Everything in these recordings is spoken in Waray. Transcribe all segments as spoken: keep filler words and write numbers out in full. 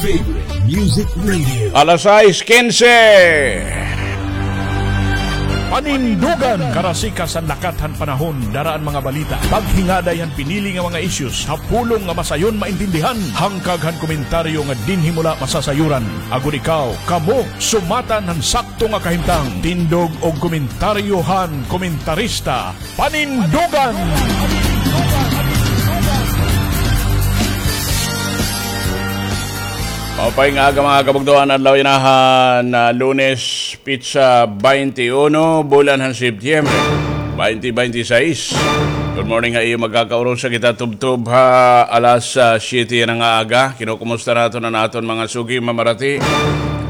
Favorite Music Radio. Alas sais kinse. Panindugan, karasikas han lakat han panahon, dara an mga balita, paghingaday han pinili nga mga issues, ha pulong nga masayon maintindihan, hangkag han komentaryo nga dinhi mo la masasayuran. Agod ikaw, kamo, sumatan han sakto nga kahimtang, tindog og komentaryo han komentarista, Panindugan. Maupay nga aga, mga kabugtoan, adlaw yana han, ah, Lunes, petsa twenty-one, bulan han Setyembre, twenty twenty-six. Good morning ha iyo magkakaurusa, kita tubtob ha alas, ah, siyete yana nga aga. Kinukumusta naton an aton mga sugi mamarati,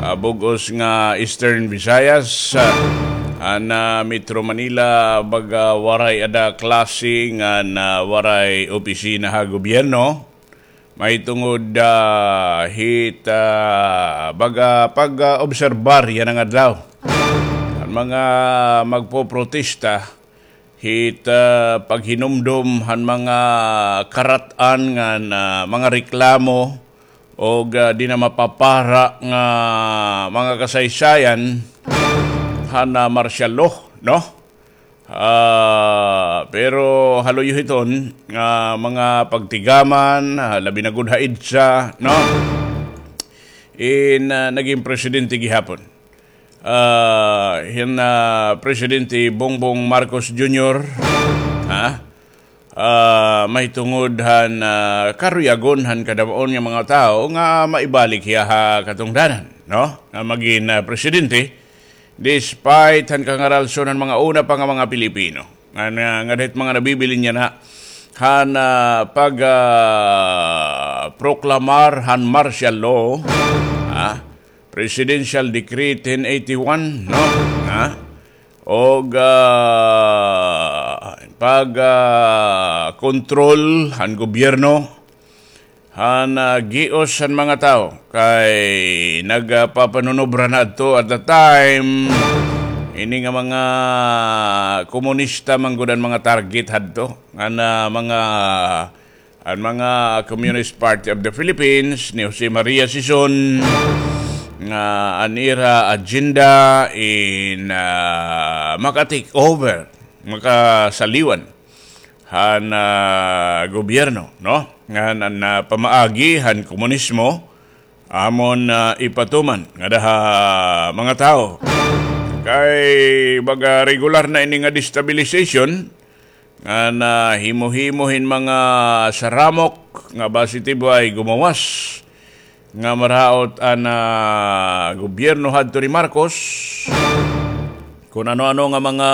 ah, bug-os nga Eastern Visayas, ah, an, ah, Metro Manila, baga waray ada klase ngan, ah, waray opisina ha gobyerno. Mahitungod, ah, hit, ah, baga pag, ah, obserbar yana nga adlaw. An mga magpoprotesta hit, ah, paghinumdom han mga karat-an ngan, ah, mga reklamo og, ah, di na mapapara nga mga kasaysayan han, ah, martial law, no? Ah, pero ha luyo hiton nga mga pagtigaman, ah, labi na gud ha EDSA, no? In, ah, naging presidente gihapon, ah, hin, ah, Presidente Bongbong Marcos Junior, ha? Ah, mahitungod han, ah, karuyagon han kadam-on nga mga tawo nga maibalik hiya ha katungdanan, no? Nga magin, ah, presidente, despite han kangaralson han mga una pa nga mga Pilipino. Nga, nga, nga dahit mga nabibilin yana han, ah, pag, ah, proklamar han martial law, ah, Presidential Decree ten eighty-one, no? Ha? Og, ah, pag, ah, kontrol han gobyerno han, ah, gios han mga tawo kay nagpapanunobra na adto at the time ini nga mga komunista man gud an mga target hadto, nga na mga An mga Communist Party of the Philippines ni Jose Maria Sison, nga an ira agenda in, ah, maka-take over, makasaliwan han, ah, gobyerno, no? Ngan an, ah, pamaagi han komunismo, amon, ah, ipatuman ngada ha mga tawo. Kay baga regular na ini nga destabilization, nga nahimo-himo hin mga saramok nga basi tibay gumawas nga maraot an, ah, gobyerno hadto ni Marcos. Kun ano-ano nga mga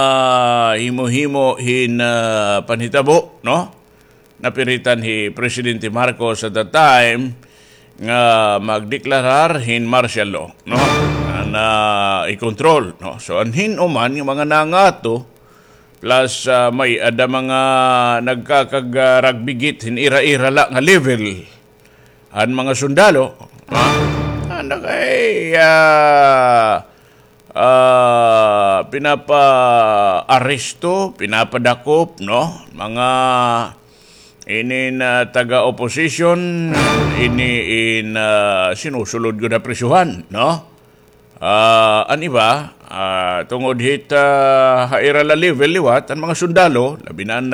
himo-himo hin, ah, panhitabo, no? Napiritan hi Presidente Marcos at that time nga magdeklarar hin martial law, no? Nga na i-control, no? So, an hin-o man nga mga nangato, plus, ah, may-ada mga nagkakag-, ah, rugby git hin ira-ira la nga level han mga sundalo, ha? Ano kay, ah, ah, pinapaaresto, pinapadakop, no? Mga ini na taga-opposition, ini in, ah, sinusulod gud ha prisuhan, no? Ah, an iba, ah, tungod hit, ah, ha ira la level liwat, an mga sundalo, labi na an